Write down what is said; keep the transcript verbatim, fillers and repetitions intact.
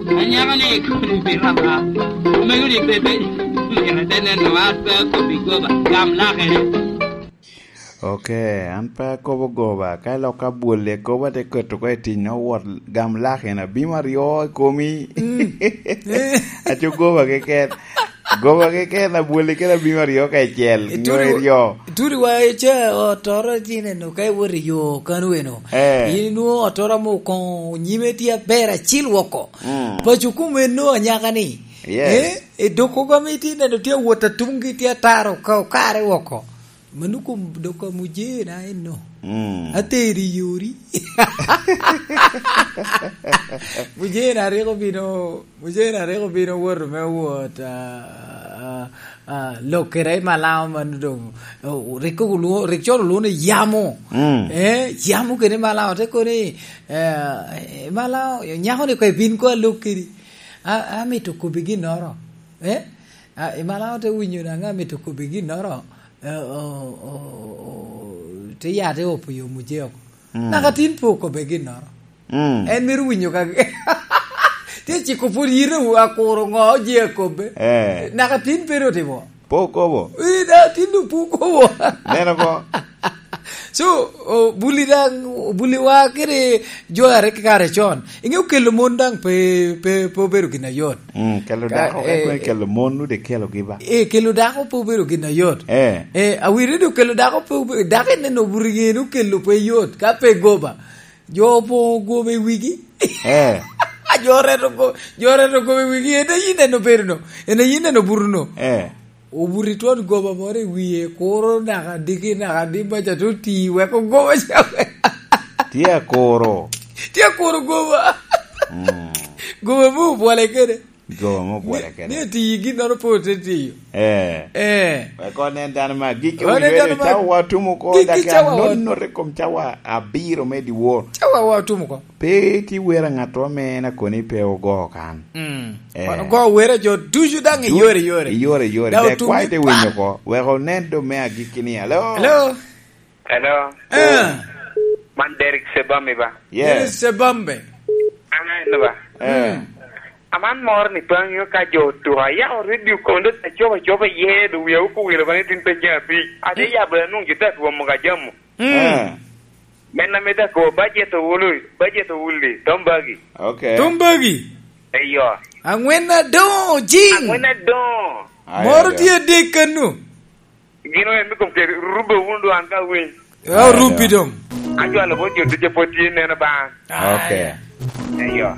Anyaka ni koni pi raba. Omego ni bebe. Mira te neno an pe akobi goba. Gam lakere. Ok, an pe akobo goba. Ka lok abwol i kobo ate keto ko i tic no wot gam lakere abim aryo i komi. Mm. Aco goba keken. Goba keken abwoli kede abim aryo kacel, nyo Itudi, iryo. Itudi wa ice otoro tineno ka iwot i yo kan weno. Eh. In inwoŋo otoro amo koŋo nyime tye aber acil woko. Mm. Paco kom eno anyaka ni. Yes. Eh, edoko gami tineno tye awot atungi tye ataro ka okare woko. Mano kom doko mujena eno. Mm. Ateri yori. Mujena rik obino, mujena rik obino woto me wot, ah, ah, ah, lokere i Malao man doŋ, oh, rik olwo-, rik coro olwoŋo ni yamo. Mm. Eh, yamo kede Malao, te koni, eh, Malao, nyako ni ko ibin ko alok kedi. A-, amito kobi ginnoro. Eh? A, i Malao te winyo daŋ amito kobi ginnoro. Eh, o, o, o, te ya te opo yo muje oko. Mm. Naka tin pe okobbe ginnoro. Mm. En mito winyo ka tye ciko pwod yite wu akuro ŋo je akobbe. Eh. Naka tin pe ru otimo. Pe okobo. Eh, da, tin du pe okobo. Neno ko. So, o, buli daŋ, buli wa kede jo a rik kare con. Inge okelo mon daŋ pe, pe, pe obedo gin ayot. Mm, kelo Ka, dako, eh, ka kelo mon nu de kelo gi ba. Eh, kelo dako pe obedo gin ayot. Eh. Eh, awiri do kelo dako pe obe-, dako en neno buri ŋe nu kelo pe yot, ka pe goba. Jo opoŋo goba i wigi. Eh. Jo reto go-, jo reto goba i wigi, en ayi neno bedo no. En ayi neno buru no. Eh. Obuto i twon goba moro i wie, kuro naka diki naka di maca te oti, weko goba ca. Tye akuro. Tye akuro goba. Mm. Goba me obwole kede. Goba me obwole kede. Ni, ni oti ginnoro pe ote tiyo. Eh. Eh. Weko nen dano ma gik Weko nen dano ma cawa wa tumo ko gik dak cawa wa anono re kom cawa abiro me diwor. Cawa wa tumo ko. Pe ti wera ŋat ame en akoni pe ogo kan. Mm. Eh. Wan ogo wera jo ducu daŋ i Du-, yore, yore. I yore, yore. Da Dek otum kwa ite winyo ko. Wek onen do me agikki ni, "Hello?" Hello? Hello? Eh. Man Derek Sebami ba? Yes. Derek Sebambe. An en ba? Eh. Mm. Aman mor ni pe aŋeo ka jo otuko. Ayako radio kono, dok acobo acoba iye, dok wia oko wilo ba ni tin pe nyaŋ abic. Ate Mm. yabo anwoŋo jo te atwomo ka jamo. Mm. Eh. Men ame te ko, bajet owulu, bajet owuli, Tom Bagi. Ok. Tom Bagi. Eyo. Aŋwen adoŋo, Jing. Aŋwen adoŋo. Ayo, Moro ayo. Tye adek kanu. Gin oen me kom kede, rubbe wunu dwan ka winy. Ya, Ayo. Rubbi doŋ. Acwalo bot jo ducu pwod tye neno ba. Ok. Ayo. Eyo.